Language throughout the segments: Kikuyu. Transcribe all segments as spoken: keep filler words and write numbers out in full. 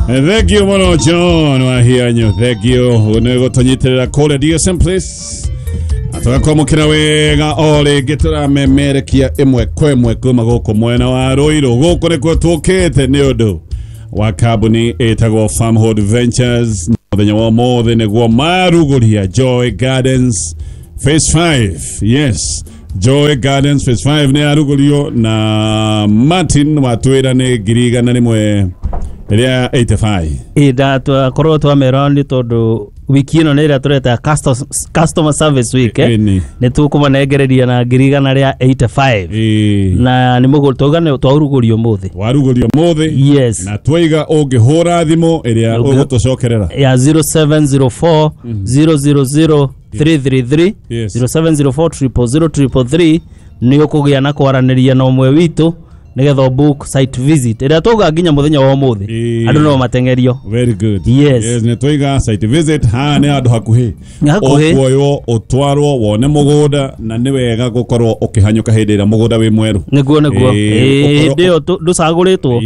Thank you mũno John Wahianyo, thank you nĩ gũtũnyitĩrĩra kũrĩa D S M Place. Tũgakwamũkĩra wega o rĩngĩ tũramemerekia ĩmwe kwa ĩmwe kuma gũkũ mwena wa Ruiru. Gũkũ nĩkuo tũkĩte nĩ ũndũ wa kambuni ĩtagwo Farmhold Ventures. Mũthenya wa ũmũthĩ nĩguo marugũria Joy Gardens Phase five. Yes, Joy Gardens Phase five nĩ yarugũrio na Martin watwĩra nĩ ngiri igana rĩmwe rĩa eighty-five. Ĩ ndatwakorwo twamera nĩ tondũ wiki ĩno nĩ ĩrĩa tũreta customer service week, eh? Nĩ tũkũmanengereria na ngiri igana rĩa eighty-five. Ĩ. Na nĩ mũgũrũ twauga nĩ twarugũrio ũmũthĩ. Warugũrio ũmũthĩ. Yes. Na twaiga ũngĩhũra thimũ ĩrĩa ũgũtũcokerera ya zero seven zero four zero zero zero three three three, Yes. zero seven zero four triple zero triple three nĩ ũkũgĩa na kwaranĩria na ũmwe witũ nĩgetha book site visit ĩrĩa twauga nginya mũthenya wa ũmũthĩ andũ no mateng'erio. Very good. Yes. Yes, nĩ twaiga site visit haha nĩ handũ hakuhĩ. Hakuhĩ. Ũkuoywo ũtwarwo wone mũgũnda na nĩ wega gũkorwo ũkĩhanyũka hĩndĩ ĩrĩa mũgũnda wĩ mwerũ. Nĩguo, nĩguo. Ĩĩ, Ĩĩ, hĩndĩ ĩyo ndũcagũrĩtwo.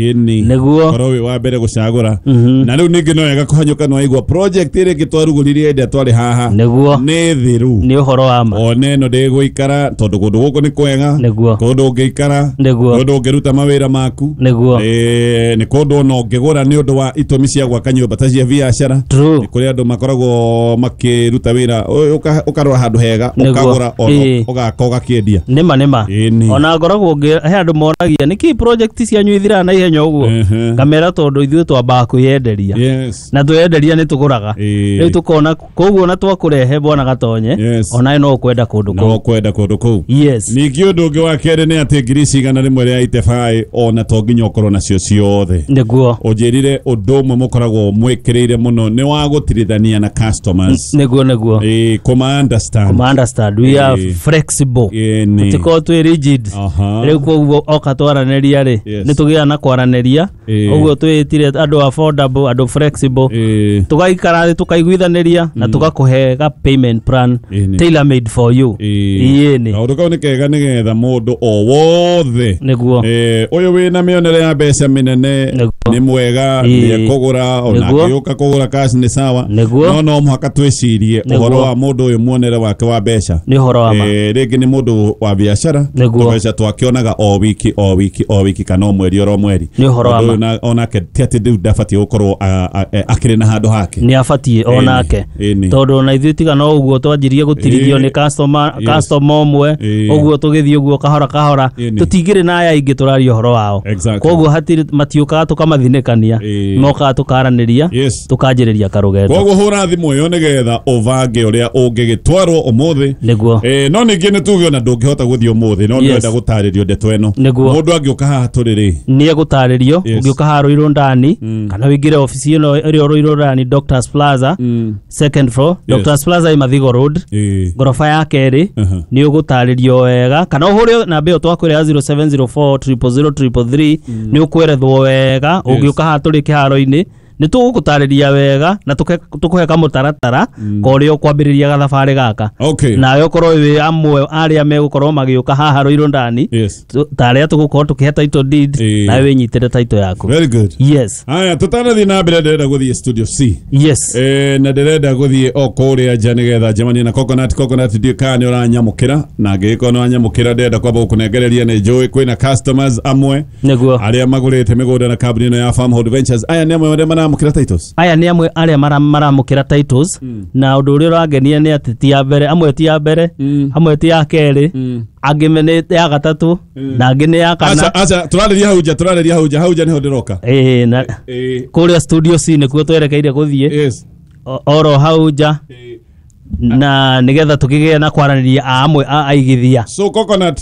Nĩguo. Ũkorwo wĩ wa mbere gũcagũra. Na rĩu ningĩ no wega kũhanyũka nĩ waigua project ĩrĩa ĩngĩ twarugũririe hĩndĩ ĩrĩa twarĩ haha. Nĩguo. Nĩ thiru. Nĩ ũhoro wa ma. One ĩno ndĩgũikara tondũ kũndũ gũkũ nĩ kwega. Nĩguo. Kũndũ ũngĩikara. Nĩguo. Kũndũ ũngĩruta mawĩra maku. Nĩguo. Eh, nĩ kũndũ ona ũngĩgũra nĩ ũndũ wa itũmi cia gwaka nyũmba ta cia biacara. True. Nĩ kũrĩ andũ makoragwo makĩruta wĩra, ũkarora handũ hega, Nĩguo. ũkagũra ona Ĩĩ. ũgaka ũgakĩendia. Nĩma, nĩma. Ĩni. Ona ngoragwo ngĩ he andũ moragia nĩkĩ project cianyu ithiraga na ihenya ũguo. Ehe. Ngamera tondũ ithuĩ twambaga kwĩyenderia. Yes. Na tweyenderia nĩ tũgũraga. Ĩĩ. Rĩu tũkona koguo na twakũrehe bwana Gatonye, Yes. onawe no ũkwenda kũndũ No kũu. ũkwenda kũndũ kũu. Yes. Ningĩ ũndũ ũngĩ wa kerĩ nĩ atĩ ngiri cigana rĩmwe rĩa eighty-five ona to nginya ũkorwo nacio ciothe. Nĩguo. Ũnjĩrire ũndũ ũmwe mũkoragwo mwĩkĩrĩire mũno nĩ wa gũtirithania na customers. Nĩguo, nĩguo. Ĩĩ, kũma understand. Kũma understand. We are Ĩĩ. flexible. Ĩni. Tũtikoragwo twĩ rigid. Aha. Rĩu koguo oka twaranĩria rĩ, Yes. nĩ tũgĩaga na kwaranĩria. Ĩĩ. Ũguo twĩtire andũ affordable, andũ flexible. Ĩĩ. Tũgaikara thĩ tũkaiguithanĩria na tũgakũhe ga payment plan Ĩni. tailor made for you. Ĩĩ. Ĩni. Kaũndũ kau nĩ kega nĩgetha mũndũ o wothe Nĩguo. Eh, ũyũ wĩna mĩonere ya mbeca mĩnene Nĩguo. nĩ mwega, Ĩĩ. nĩ ekũgũra ona Nĩguo. angĩũka kũgũra cash nĩ sawa. Nĩguo. No no mũhaka twĩcirie Nĩguo. ũhoro wa mũndũ ũyũ muonere wake wa mbeca. Nĩ ũhoro wa ma. Eh, rĩngĩ nĩ mũndũ wa biacara Nĩguo. tũbeca twakĩonaga o wiki o wiki o wiki kana o mweri oro mweri. Nĩ ũhoro wa Mũndũ ma. ũyũ na- onake ti atĩ rĩu ndabatiĩ gũkorwo a- a- e, akĩrĩ na handũ hake. Nĩ abatiĩ onake. Ĩni. Tondũ ona ithuĩ tiga no ũguo twanjirie gũtirithio Ĩĩ. nĩ customer, Yes. customer ũmwe, Ĩĩ. ũguo tũgĩthiĩ ũguo kahora kahora, Ĩni. tũtingĩrĩ na aya aingĩ tũraria ũhoro wao. Exactly. Koguo hatirĩ matiũkaga tũkamathinĩkania, Ĩĩ. mokaga tũkaranĩria, Yes. tũkanjĩrĩria karũgendo. Koguo hũra thimũ ĩyo nĩgetha ũbange ũrĩa ũngĩgĩtwarwo ũmũthĩ. Nĩguo. Eh, no ningĩ nĩ tuge ona ndũngĩhota gũthiĩ ũmũthĩ no Yes. ndĩrenda gũtarĩrio ndeto ĩno. Nĩguo. Mũndũ angĩũka haha tũrĩ rĩ. Nĩ egũtarĩrio, Yes. ũngĩũka haha Ruiru ndani kana ũingĩre obici ĩno ĩrĩa Ruiru ndani Doctors Plaza second floor. Yes. Doctors Plaza ĩ Mathigo Road Ĩĩ. ngoroba ya kerĩ. Aha. Nĩ ũgũtarĩrio wega kana ũhũre namba ĩyo twakwĩra ya zero seven zero four triple zero triple three nĩ ũkwerethwo wega. Ũngĩũka haha tũrĩ kĩharo-inĩ nĩ tũgũgũtarĩria wega na tũkũhe kamũtaratara ka ũrĩa ũkwambĩrĩria gathabarĩ gaka. Okay. Nawe ũkorwo wĩ amwe arĩa megũkorwo magĩũka haha Ruiru ndani Yes. ta arĩa tũgũkorwo tũkĩhe title deed, Ĩĩ. nawe wĩnyitĩre title yaku. Very good. Yes. Haya, tũtanathiĩ na mbere ndĩrenda gũthiĩ studio C. Yes. Eh, na ndĩrenda gũthiĩ o kũrĩa nja nĩgetha njemanie na Coconut. Coconut ndiũĩ kana nĩ ũranyamũkĩra, na angĩgĩkorwo nĩ wanyamũkĩra ndĩrenda kwamba gũkũnengereria nĩ njũĩ kwĩna customers amwe Nĩguo. arĩa magũrĩte mĩgũnda na kambuni ĩno ya Farmhold Ventures. Aya nĩ amwe arĩa maramũkĩra titles. Aya nĩ amwe arĩa maramũkĩra titles, na ũndũ ũrĩa ũrangenia nĩ atĩ ti ya mbere, amwe ti ya mbere, amwe ti ya kerĩ, angĩ nĩ ya gatatũ na angĩ nĩ ya kana. Aca, aca, tũrarĩria hau nja, tũrarĩria hau nja, hau nja nĩho ndĩroka. Ĩĩ, na Ĩĩ. kũrĩa studio C nĩkuo twerekeire gũthiĩ. Yes. Oro hau nja. Ĩĩ. Na nĩgetha tũkĩgĩe na kwaranĩria a amwe a aigithia. So Coconut,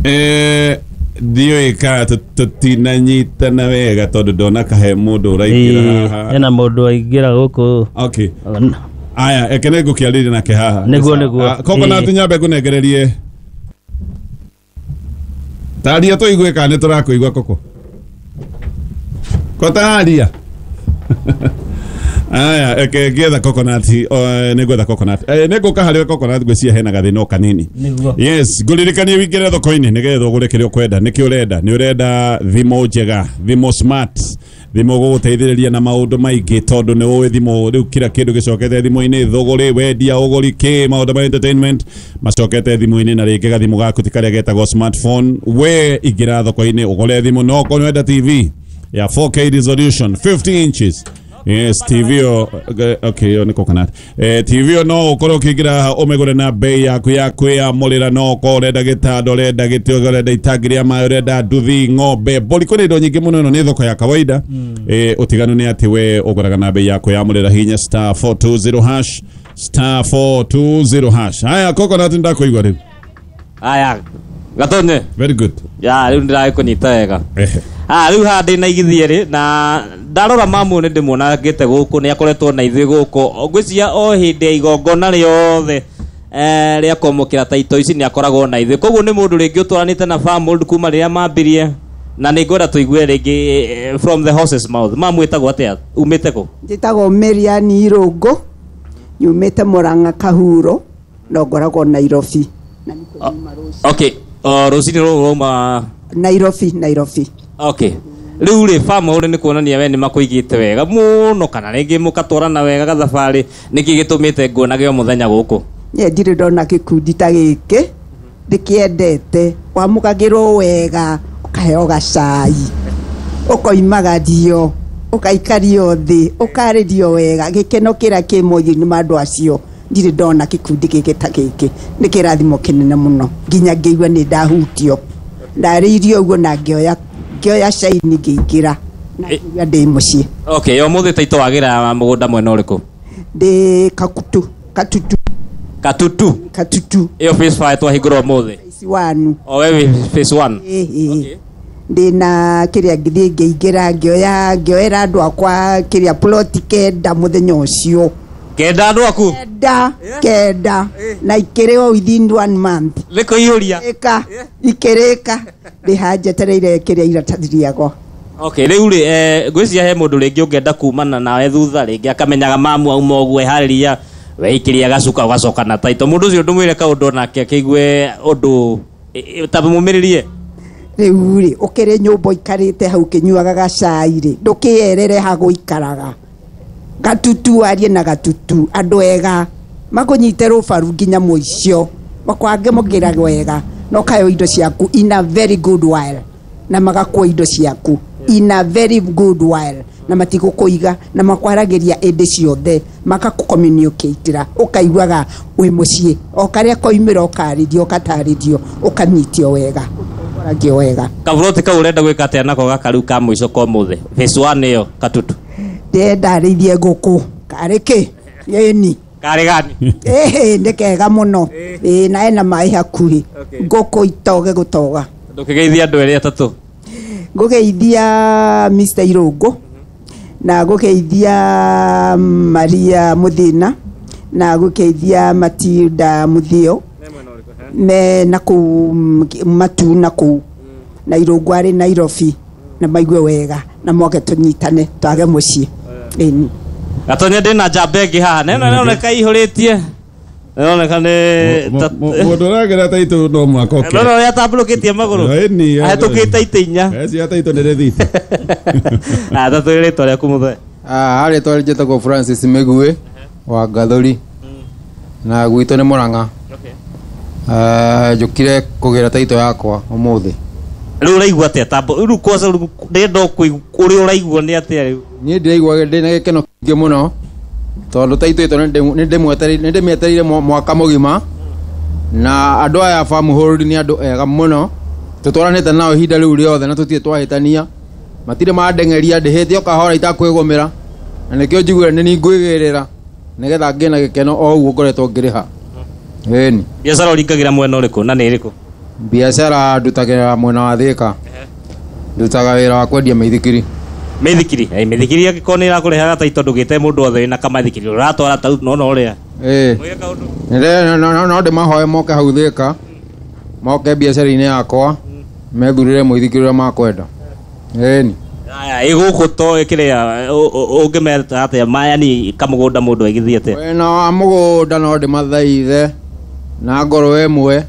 eh, ndiũĩ kana tũtinanyitana wega tondũ ndona kahe mũndũ ũraingĩra haha. Hena mũndũ aingĩra gũkũ. Okay. Aya, eke nĩ ngũkĩarĩria nake haha. Nĩguo, nĩguo. Coconut, nyambe ngũnengererie. Taria tũigue kana nĩ tũrakũigua Koko. Ko taria. Aya, eke ngietha coconut, eh, nĩ ngwetha coconut. Eh, nĩ ngũka harĩ coconut ngwĩciria hena gathĩna o kanini. Nĩguo. Yes, ngũririkanie wĩingĩre thoko-inĩ nĩgetha ũgũre kĩrĩa ũkwenda. Nĩkĩ ũrenda? Nĩ ũrenda thimũ njega, thimũ smart, thimũ gũgũteithĩrĩria na maũndũ maingĩ tondũ nĩ ũĩ thimũ rĩu kila kĩndũ gĩcokete thimũ-inĩ, thũgũrĩ, wendia, ũgũri, kĩ, maũndũ ma entertainment macokete thimũ-inĩ na rĩngĩ gathimũ gaku ti karĩa getagwo smartphone. We ingĩra thoko-inĩ ũgũre thimũ, no okorwo nĩ ũrenda T V ya four K resolution fifty inches. Yes, T V o, okay, yo nĩ coconut. Eh, T V o no ũkorwo ũkĩingĩra ũmĩgũre na bei yaku ya kwĩyamũrĩra, no ũkorwo ũrenda gĩtanda, ũrenda gĩtĩ, ũrenda itangi rĩa maĩ, ũrenda nduthi, ng'ombe, mbũri, kwĩna indo nyingĩ mũno. Ĩno nĩ thoko ya kawaida. Eh, ũtiganu nĩ atĩ we ũgũraga na bei ya kwĩyamũrĩra. Hinya star four two zero hash, star four two zero hash. Haya, coconut ndakũigua rĩu. Haya, Gatonye. Very good. Ya, rĩu ndĩragĩkũnyita wega. Ehe. Ah, rĩu haha ndĩna igithie rĩ, na ndarora mamu nĩ ndĩmuona ngĩte gũkũ, nĩ akoretwo na ithuĩ gũkũ. Ngwĩciria o hĩndĩ ya igongona rĩothe, eh, rĩa kwamũkĩra taito ici nĩ akoragwo na ithuĩ. Koguo nĩ mũndũ rĩngĩ ũtwaranĩte na Farmhold kuma rĩrĩa mambirie, na nĩ ngwenda tũigue rĩngĩ, eh, from the horse's mouth. Mamu ĩtagwo atĩa? Umĩte kũ? Njĩtagwo Miriam Irũngũ, nyumĩte Murang'a Kahuro, no ngoragwo Nairobi. Na nĩ kũnyuma rũciũ. Okay, o, rũcinĩ rũrũ rauma Nairobi, Nairobi. Okay. Rĩu rĩ, Farmhold nĩ kuonania we nĩ makũigĩte wega mũno, kana rĩngĩ mũkatwarana wega gathabarĩ. Nĩkĩ gĩtũmĩte nguonage o mũthenya gũkũ? Niĩ ndirĩ ndona gĩkundi ta gĩkĩ, ndĩkĩendete. Wamũkagĩrwo wega, ũkaheo gacai, ũkoimagario, ũgaikario thĩ, ũkarĩrio wega. Gĩkeno kĩrĩa kĩ mothiũ-inĩ ma andũ acio, ndirĩ ndona gĩkundi gĩkĩ ta gĩkĩ. Nĩ kĩrathimo kĩnene mũno, nginya ngĩigua nĩ ndahutio. Ndarĩirio ũguo na ngĩoya, ngĩoya caini ngĩingĩra, na ngĩigua ndĩ mũciĩ. Okay, ũmũthĩ taito wagĩra mũgũnda mwena ũrĩkũ? Ndĩ Kakutu, Katutu. Katutu? Katutu. Ĩyo phase five twahingũra ũmũthĩ? Phase one. O we wĩ phase one? Ĩĩ, ĩĩ. Okay. Ndĩna kĩrĩa ngĩthiĩ ngĩingĩra, ngĩoya, ngĩoera andũ akwa kĩrĩa plot kenda mũthenya ũcio. Kenda andũ aku? Kenda, kenda. Na ikĩrĩ o within one month. Nĩ kũiyũria? Ĩka, ikĩrĩka. Ndĩ haha njetereire kĩrĩa iratathi rĩakwa. Okay, rĩu rĩ, eh, ngwĩciria he mũndũ rĩngĩ ũngĩenda kumana nawe thutha rĩngĩ akamenyaga mamu auma ũguo eharĩria, weikĩria gacuka ũgacoka na taito. Mũndũ ũcio ndũmwĩre kaũndũ onake akĩigue ũndũ, e, e, ta mũmĩrĩrie. Rĩu rĩ, ũkĩrĩ nyũmba ũikarĩte hau ũkĩnyuaga gacai rĩ, ndũkĩerere ha gũikaraga. Gatutu arie na gatutu, andũ ega makũnyite rũbaru nginya mũico, makwange mũkĩra wega, na ũkaheo indo ciaku in a very good while, na magakua indo ciaku in a very good while, na matigũkũiga, na makwaragĩria ĩndĩ ciothe, makakũ-communicate-ĩra, ũkaiguaga wĩ mũciĩ, o karĩa koimĩra ũkarĩrio, ũkatarĩrio, ũkanyitio wega, ũkaragio wega. Kaburoti kau ũrenda gwĩka atĩa nako gaka rĩu ka mũico ka ũmũthĩ? Phase one ĩyo, Katutu. Ndĩrenda rĩithie ngũkũ. Karĩ kĩ? Ĩni. Karĩ gani? Ĩhĩ, nĩ kega mũno. Ĩĩ, na ena maĩ hakuhĩ. Ngũkũ itoge gũtoga. Ndũkĩgeithia andũ erĩ atatũ. Ngũgeithia Mister Irũngũ, na ngũgeithia Maria Mũthĩna, na ngũgeithia Matilda Mũthĩo, me na kũu Matu na kũu, na Irũngũ arĩ Nairobi, na maigue wega, na moke tũnyitane, twage mũciĩ. Ĩni. Gatonye ndĩna njamba ĩngĩ haha, na ĩno ĩroneka ĩihũrĩtie. Ĩroneka nĩ Mũ- ta- mũ- mũndũ ũragera taitũ no mwaka ũke. No, no, ũrĩa atambũrũkĩtie magũrũ. Ĩni, Ahĩtũkĩte itĩ inya. Eci taitũ nĩ rĩthiti. Ah, ta twĩre rĩtwa rĩaku mũthee. Ah, rĩtwa njĩtagwo Francis Mĩguĩ wa Ngathũri, na gwitũ nĩ Murang'a. Ah, njũkire kũgĩra taitũ yakwa ũmũthĩ. Rĩu ũraigua atĩa? Tambo, rĩu kwanza rĩu ndĩrenda kũigua ũrĩa ũraigua nĩ atĩa rĩu? Niĩ ndĩraigua ndĩna gĩkeno kĩingĩ mũno, tondũ taitũ ĩto nĩ ndĩmwetereire, nĩ ndĩmĩetereire mwaka mũgima, na andũ aya a Farmhold nĩ andũ ega mũno, tũtwaranĩte nao ihinda rĩu rĩothe na tũtirĩ twahĩtania, matirĩ mandeng'eria, ndĩhĩte o kahora itakwĩgũmĩra, na nĩkĩo njiguire nĩ niĩ ngwĩgĩrĩra nĩgetha ngĩe na gĩkeno o ũguo ngoretwo ngĩrĩha. Ĩni. Biacara ũringagĩra mwena ũrĩkũ na nĩ ĩrĩkũ? Biacara ndutagĩra mwena wa Thĩka. Ndutaga wĩra wa kwendia mĩithikiri. Mĩithikiri? Ĩ, mĩithikiri angĩkorwo nĩ ĩrakũrehaga taitũ ndũgĩte mũndũ othe wĩna kamaithikiri, ũratwara tau no no ũrĩa. Ĩ. Mwĩke kaũndũ. Nĩ, no, no, no ndĩmahoe moke hau Thĩka, moke biacara-inĩ yakwa, methurĩre mũithikiri ũrĩa makwenda. Ĩni. Aya ĩgũkũ to ĩkĩrĩa ũngĩmeta atĩa maya ni kamũgũnda mũndũ aigithie atĩa? Mwena wa mũgũnda no ndĩmathaithe na ngoro ĩmwe,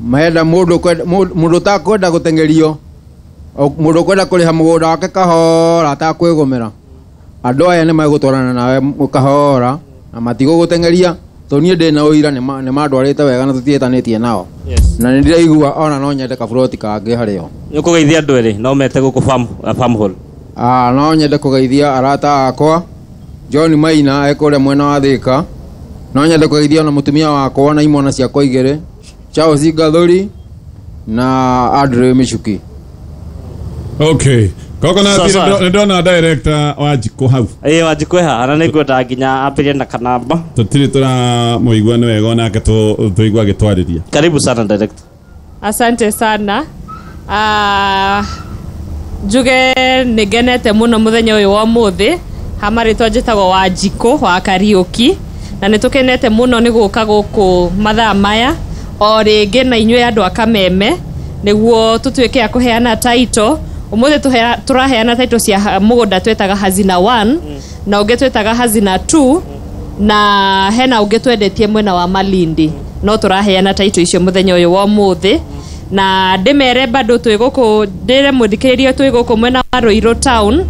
menda mũndũ kwenda- mũndũ mũndũ ũtakwenda gũteng'erio, o mũndũ ũkwenda kũrĩha mũgũnda wake kahora atakwĩgũmĩra, andũ aya nĩ megũtwarana nawe m- kahora na matigũgũteng'eria tondũ niĩ ndĩna ũira nĩ ma- nĩ mandwarĩte wega na tũtiĩtanĩtie nao. Yes. Na nĩ ndĩraigua ona no nyende kaburoti kangĩ harĩo. Nĩ ũkũgeithia andũ erĩ no mete gũkũ farm farm hall. Ah, no nyende kũgeithia arata akwa John Maina e kũrĩa mwena wa Thika. No nyende kũgeithia ona mũtumia wakwa na imwana ciakwa igĩrĩ, Charles Gathuri na Andrew Michuki. Okay, kogo na Sasa. nĩ ndona director wa Njikũ hau. Ĩĩ Wanjikũ ĩha na nĩ ngwenda nginya ambĩrĩrie na kanamba. Tũtirĩ tũramũigua nĩ wega onake tũ- tũigua agĩtwarĩria. Karibu sana director. Asante sana. Ah, njuge nĩ ngenete mũno mũthenya ũyũ wa ũmũthĩ. Ha marĩtwa njĩtagwo Wanjikũ wa Kariũki, na nĩ tũkenete mũno nĩ gũka gũkũ mathaa maya o rĩngĩ na inyuĩ andũ a Kameme nĩguo tũtuĩke a kũheana title. Ũmũthĩ tũhea- tũraheana title cia ha- mũgũnda twĩtaga Hazina one na ũngĩ twĩtaga Hazina two na hena ũngĩ twendetie mwena wa Malindi, no tũraheana title icio mũthenya ũyũ wa ũmũthĩ. Na ndĩmere bado twĩ gũkũ, ndĩre mũthikĩrĩria twĩ gũkũ mwena wa Ruiru town.